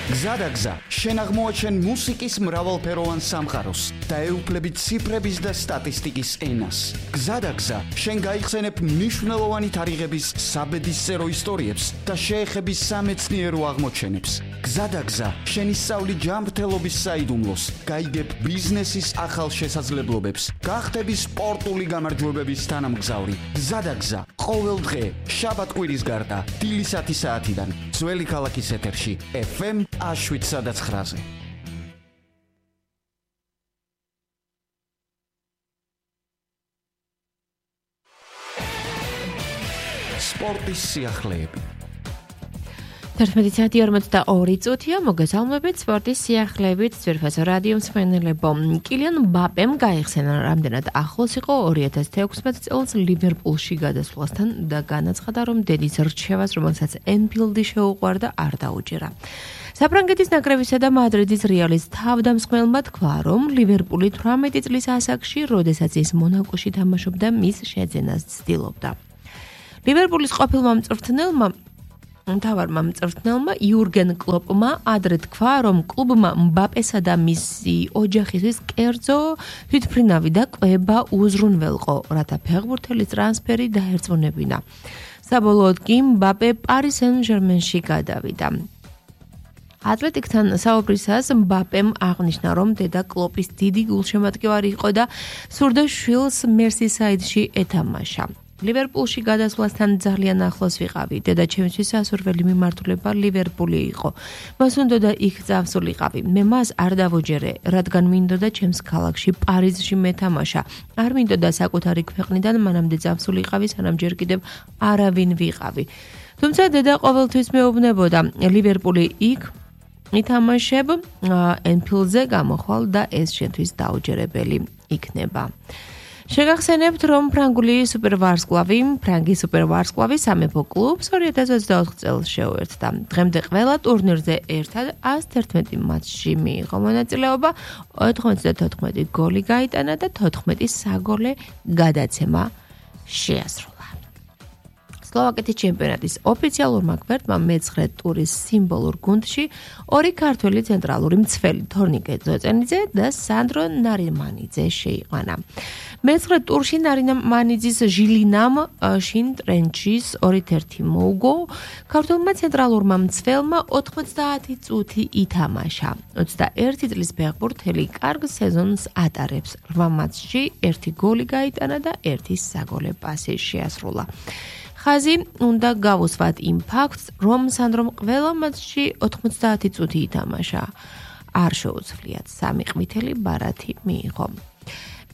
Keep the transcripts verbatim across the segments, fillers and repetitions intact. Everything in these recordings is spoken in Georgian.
გზადაგზა, შენ აღმოაჩენ მუსიკის მრავალფეროვან სამყაროს და ეუფლებით ციფრების და სტატისტიკის ენას. გზადაგზა, შენ გაიხსენებ მნიშვნელოვანი თარიღების საბედისწერო ისტორიებს და შეეხები სამეცნიერო აღმოჩენებს. გზადაგზა, შენ ისწავლი ჯანმრთელობის საიდუმლოს, გაიგებ ბიზნესის ახალ შესაძლებლობებს, გახდები სპორტული გამარჯვებების თანამგზავრი. გზადაგზა, ყოველ დღე, შაბათ-კვირის გარდა, დილისათი საათიდან, ძველი ქალაქის ეთერში, ეფ ემ შვიდსა და ცხრაზე. სპორტის სიახლეები. თერთმეტი საათი ორმოცდაორი წუთია, მოგესალმებით სპორტის სიახლეებით ძვირფასო რადიო მსმენელებო. კილიან მბაპემ გაიხსენა, რამდენად ახლოს იყო ორი ათას თექვსმეტ წელს ლივერპულში გადასვლასთან და განაცხადა, რომ დედის რჩევას, რომელსაც ენფილდი შეუყვარდა, არ დაუჭირა. საფრანგეთის ნაკრებისა და მადრიდის რეალის თავდამსხმელმა თქვა, რომ ლივერპული თვრამეტი წლის ასაკში, როდესაც ის მონაკოში თამაშობდა, მის შეძენას ცდილობდა. ლივერპულის ყოფილმა მწვრთნელმა მთავარმა მწვრთნელმა იურგენ კლოპმა ადრე თქვა, რომ კლუბმა მბაპესა და მისი ოჯახისთვის კერძო თვითმფრინავი და კვება უზრუნველყო, რათა ფეხბურთელის ტრანსფერი დაერწმუნებინა. საბოლოოდ კი მბაპე პარი სენ-ჟერმენში გადავიდა. ატლეტიკთან საუბრისას მბაპემ აღნიშნა, რომ დედა კლოპის დიდი გულშემატკივარი იყო და სურდა შვილს მერსისაიდში ეთამაშა. ლივერპულში გადასვლასთან ძალიან ახლოს ვიყავი. დედა ჩემთვის სასურველი მიმართულება ლივერპული იყო. მას უნდოდა იქ წავსულიყავი. მე მას არ დავუჯერე, რადგან მინდოდა ჩემს ქალაქში პარიზში მეთამაშა. არ მინდოდა საკუთარი ქვეყნიდან მანამდე წავსულიყავი, სანამ ჯერ კიდევ არავინ ვიყავი. თუმცა დედა ყოველთვის მეუბნებოდა, ლივერპული იქ ითამაშებ, ენფილდზე გამოხვალ და ეს შენთვის დაუჯერებელი იქნება. შეგახსენებთ, რომ ფრანგული სუპერვარსკვლავი, ფრანგი სუპერვარსკვლავი სამეფო კლუბს ორი ათას ოცდაოთხ წელს შეუერთდა. დღემდე ყველა ტურნირზე ერთად ას თერთმეტი მატჩში მიიღო მონაწილეობა, ოთხმოცდათოთხმეტი გოლი გაიტანა და თოთხმეტი საგოლე გადაცემა შეასრულა. სლოვაკეთის ჩემპიონატის ოფიციალურმა გვერდმა მეცხრე ტურის სიმბოლურ გუნდში ორი ქართველი ცენტრალური მცველი თორნიკე ძოწენიძე და სანდრო ნარიმანიძე შეიყვანა. მეცხრე ტურში ნარიმანიძის ჟილინამ შინ ტრენჩის ორით ერთი მოუგო, ქართველმა ცენტრალურმა მცველმა ოთხმოცდაათი წუთი ითამაშა. ოცდაერთი წლის ფეხბურთელი კარგ სეზონს ატარებს. რვა მატჩში ერთი გოლი გაიტანა და ერთი საგოლე პასი შეასრულა. ხაზი უნდა გავუსვათ იმ ფაქტს, რომ სანდრომ ყველა მატჩში ოთხმოცდაათი წუთი ითამაშა. არ შეუძლიათ სამი ყვითელი ბარათი მიიღო.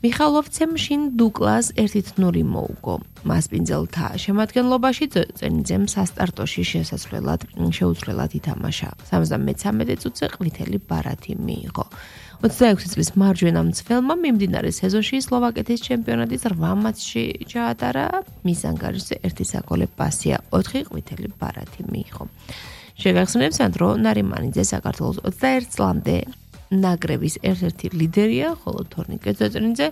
მიხალოვცემ შინ დუკლას ერთ ნული მოუგო. მასპინძელთა შემადგენლობაში ძოწენიძემ სასტარტოში შესასვლელად შეუცვლელად ითამაშა. სამოცდამეცამეტე წუთზე ყვითელი ბარათი მიიღო. ოცდაექვსი წლის მარჯვენა მცველმა მიმდინარე სეზონში სლოვაკეთის ჩემპიონატის რვა მატჩში ჩაატარა, მის ანგარიშზე ერთი საგოლე პასია, ოთხი ყვითელი ბარათი მიიღო. შეგახსენებთ, სანდრო ნარიმანიძე საქართველოს ოცდაერთ წლამდე ნაკრების ერთ-ერთი ლიდერია, ხოლო თორნიკე ძოწენიძე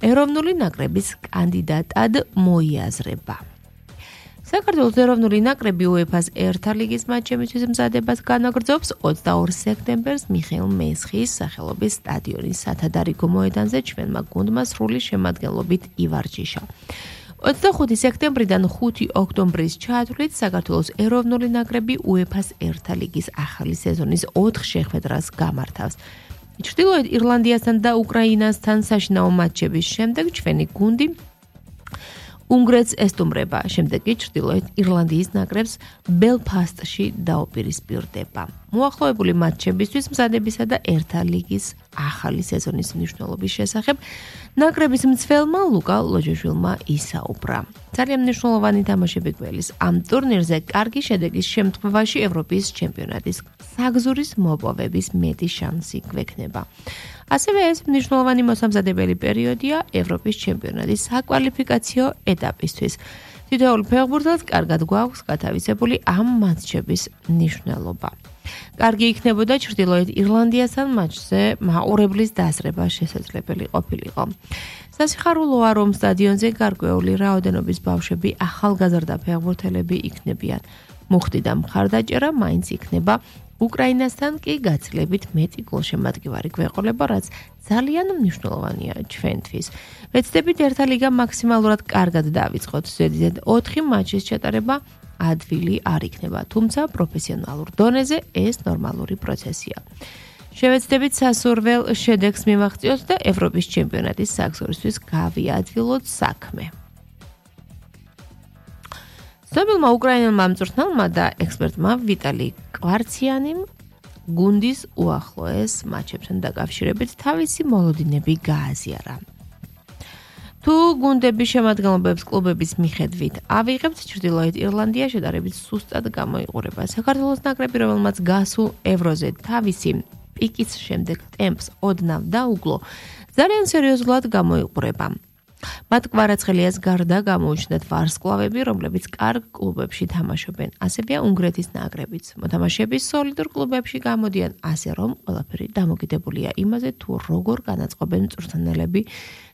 ეროვნული ნაკრების კანდიდატად მოიაზრება. საქართველოს ეროვნული ნაკრები უეფას ერთა ლიგის მატჩებისთვის მზადებას განაგრძობს ოცდაორ სექტემბერს მიხეილ მესხის სახელობის სტადიონის სათადარიგო მოედანზე ჩვენმა გუნდმა სრული შემადგენლობით ივარჯიშა. ოცდახუთი სექტემბრიდან ხუთი ოქტომბრის ჩათვლით საქართველოს ეროვნული ნაკრები უეფას ერთა ლიგის ახალი სეზონის ოთხ შეხვედრას გამართავს. ჩრდილოეთ ირლანდიასთან და უკრაინასთან საშინაო მატჩების შემდეგ ჩვენი გუნდი უნგრეთს ესტუმრება, შემდეგ კი ჩრდილოეთ ირლანდიის ნაკრებს ბელფასტში დაუპირისპირდება. მოახლოებული მატჩებისთვის მზადებისა და ერთა ლიგის ახალი სეზონის მნიშვნელობის შესახებ ნაკრების მცველმა ლუკა ლოჯეშვილმა ისაუბრა. ძალიან მნიშვნელოვანი თამაშები გველის ამ ტურნირზე კარგი შედეგის შემთხვევაში ევროპის ჩემპიონატის საგზურის მოპოვების მეტი შანსი გვექნება. ასევე ეს მნიშვნელოვანი მოსამზადებელი პერიოდია ევროპის ჩემპიონატის საკვალიფიკაციო ეტაპისთვის. თითოეულ ფეხბურთელს კარგად გვაქვს გათავისებული ამ მატჩების მნიშვნელობა. კარგი იქნებოდა ჩრდილოეთ ირლანდიასთან მატჩზე მაყურებლის დასრება შესაძლებელი ყოფილიყო. სასიხარულოა, რომ სტადიონზე გარკვეული რაოდენობის ბავშვები ახალგაზრდა ფეხბურთელები იქნებიან. მუხტი და მხარდაჭერა მაინც იქნება უკრაინასთან კი გაცილებით მეტი გოლშემატკივარი გვეყოლება, რაც ძალიან მნიშვნელოვანია ჩვენთვის. ვეცდებით ერთა ლიგა მაქსიმალურად კარგად დავიწყოთ. ზედიზედ ოთხი მატჩის ჩატარება ადვილი არ იქნება, თუმცა პროფესიონალურ დონეზე ეს ნორმალური პროცესია. შევეცდებით სასურველ შედეგს მივაღწიოთ და ევროპის ჩემპიონატის საგზურისთვის გავიადვილოთ საქმე. ცნობილმა უკრაინელმა მწვრთნელმა და ექსპერტმა ვიტალი კვარციანიმ გუნდის უახლოეს მატჩებთან დაკავშირებით თავისი მოლოდინები გააზიარა. თუ გუნდების შემადგენლობებს კლუბების მიხედვით ავიღებთ, ჩრდილოეთ ირლანდია შედარებით სუსტად გამოიყურება. საქართველოს ნაკრები, რომელმაც გასულ ევროზე თავისი პიკის შემდეგ ტემპს ოდნავ დაუგლო, ძალიან სერიოზულად გამოიყურება. მათ კვარაცხელიას გარდა გამოუჩნდათ ვარსკვლავები, რომლებიც კარგ კლუბებში თამაშობენ. ასევეა უნგრეთის ნაკრებიც. მოთამაშეები სოლიდურ კლუბებში გამოდიან, ასე რომ ყველაფერი დამოკიდებულია იმაზე, თუ როგორ განაწყობენ მწვრთნელები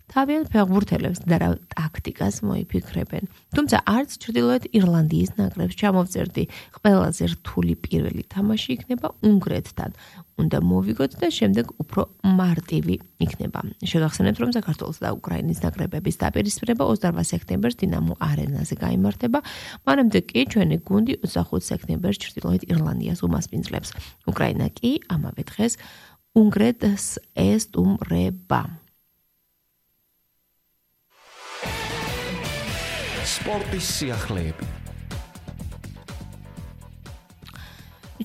თავიანთ ფეხბურთელებს და რა ტაქტიკას მოიფიქრებენ. თუმცა არც ჩრდილოეთ ირლანდიის ნაკრებს ჩამოვწერდი ყველაზე რთული პირველი თამაში იქნება უნგრეთთან. უნდა მოვიგოთ და შემდეგ უფრო მარტივი იქნება. შეგახსენებთ, რომ საქართველოს და უკრაინის ნაკრებების დაპირისპირება ოცდაორ სექტემბერს დინამო არენაზე გაიმართება. მანამდე კი ჩვენი გუნდი ოცდახუთ სექტემბერს ჩრდილოეთ ირლანდიას უმასპინძლებს. უკრაინა კი ამავე დღეს უნგრეთს ესტუმრება. სპორტის სიახლეები.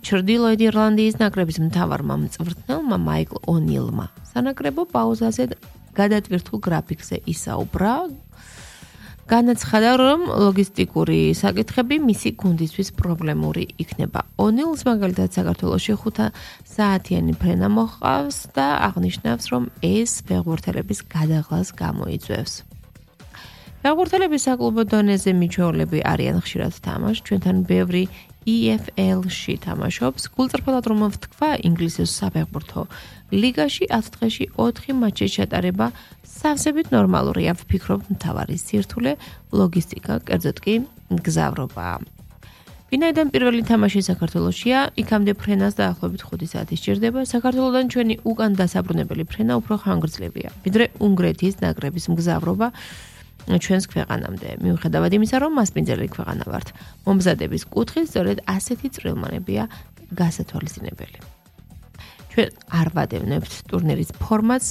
ჩრდილოეთ ირლანდიის ნაკრების მთავარმა მწვრთნელმა მაიკლ ონილმა სანაკრებო პაუზაზე გადატვირთულ გრაფიკზე ისაუბრა. განაცხადა, რომ ლოგისტიკური საკითხები მისი გუნდისთვის პრობლემური იქნება. ონილს მაგალითად საქართველოში ხუთ საათიანი ფრენა მოჰყავს და აღნიშნავს, რომ ეს ფეხბურთელების გადაღლას გამოიწვევს. ფეხბურთელების საკლუბო დონეზე მიჩვეულები არიან ხშირად თამაშს, ჩვენთან ბევრი ი ეფ ელ-ში თამაშობს. გულწრფელად რომ ვთქვა, ინგლისის საფეხბურთო ლიგაში ათ დღეში ოთხი მატჩის ჩატარება სავსებით ნორმალურია. ვფიქრობ, მთავარი სირთულე ლოგისტიკა, კერძოდ კი გზავრობაა. ვინაიდან პირველი თამაში საქართველოშია, იქამდე ფრენას დაახლოებით ხუთი საათი სჭირდება. საქართველოდან ჩვენი უკან დასაბრუნებელი ფრენა უფრო ხანგრძლივია, ვიდრე უნგრეთის ნაკრების მგზავრობა ჩვენს ქვეყანამდე. მიუხედავად იმისა, რომ მასპინძელი ქვეყანა ვართ, მომზადების კუთხით სწორედ ასეთი წვრილმანებია გასათვალისწინებელი. ჩვენ არ ვადევნებთ ტურნირის ფორმატს,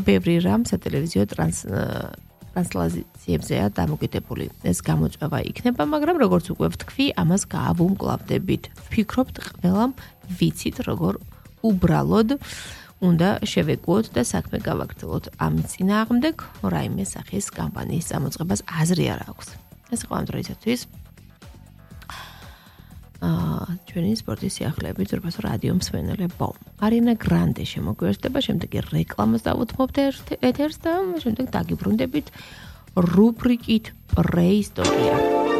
ბევრი რამ სატელევიზიო ტრანსლაციებზეა დამოკიდებული. ეს გამოწვევა იქნება, მაგრამ როგორც უკვე ვთქვი, ამას გაავუმკლავდებით. ვფიქრობთ, ყველამ ვიცით, როგორ უბრალოდ უნდა შევეგუოთ და საქმე გავაგრძელოთ. ამის წინააღმდეგ რაიმე სახის კამპანიის წამოწყებას აზრი არ აქვს. ეს იყო ამ დროისათვის აა ჩვენი სპორტის სიახლეები ძვირფასო რადიო მსმენელებო. არინა გრანდე შემოგვიერთდება, შემდეგ რეკლამას დავუთმობთ ეთერს და შემდეგ დაგიბრუნდებით რუბრიკით პრეისტორია.